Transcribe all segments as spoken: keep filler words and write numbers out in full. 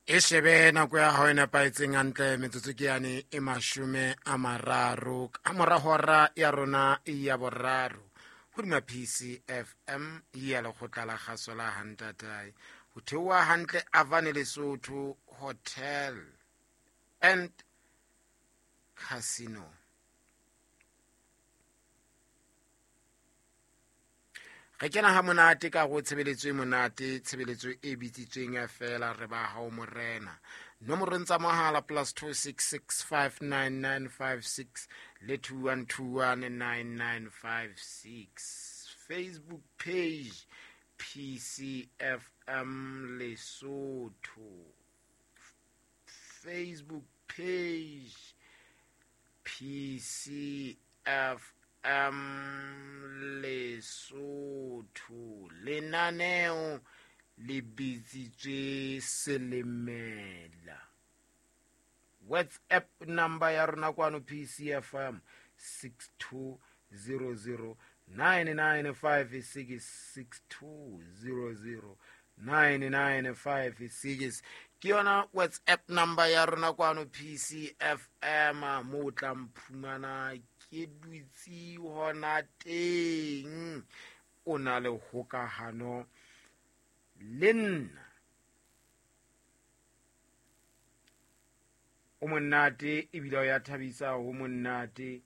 E shebe nako ya hao e nepahetseng hantle, metsotso ke yane e mashome a mararo ka mora hora ya rona ya boraro hodima P C F M ya lekgotla la kgaso la Hantatae, ho theoha hantle Avane Lesotho Hotel and Casino. Re kena ha monate ka go tshebeletso e monate, tshebeletso e bitsitsweng feela Re Ba Hao Morena. Nomorong tsa mohala plus two six six five nine nine five six le two one two one nine nine five six. Facebook page P C F M Lesotho, Facebook page P C F M Lesotho. Lenaneo le bitsitswe Selemela. WhatsApp number ya rona kwano P C F M six two zero zero nine nine five six, six two zero zero nine nine five six ke yona WhatsApp number ya rona kwano P C F M, mo o tla mphumana ke dutse hona teng, o na le hokahano le nna. O monate ebile o ya thabisa, ho monate,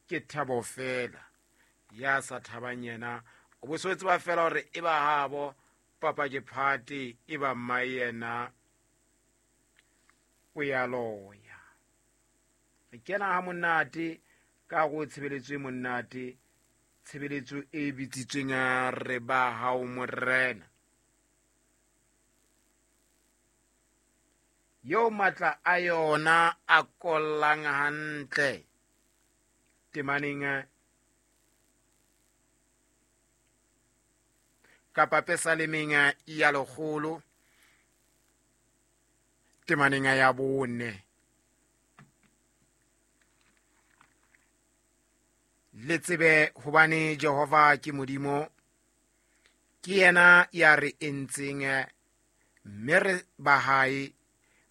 ke thabo fela. Ya sa thabang yena o bo so tseba fela hore e ba habo papa ke phate, e ba mma yena o ya loya. Re kena ha monate ka go tshebeletso e monate, tshebeletso e bitsitsweng Re Ba Hao Morena, eo matla a yona a kollang hantle temaneng kapa pesalemeng ya lekgolo, temaneng ya bone. Le tsebe hobane Jehova ke Modimo, ke yena ya re entseng, mme re ba hae,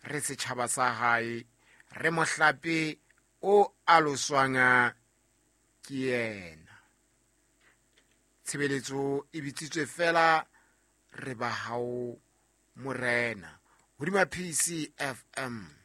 re setjhaba sa hae, re mohlape o aloswang ke yena. Tshebeletso e bitsitswe fela Re Ba Hao Morena hodima P C F M.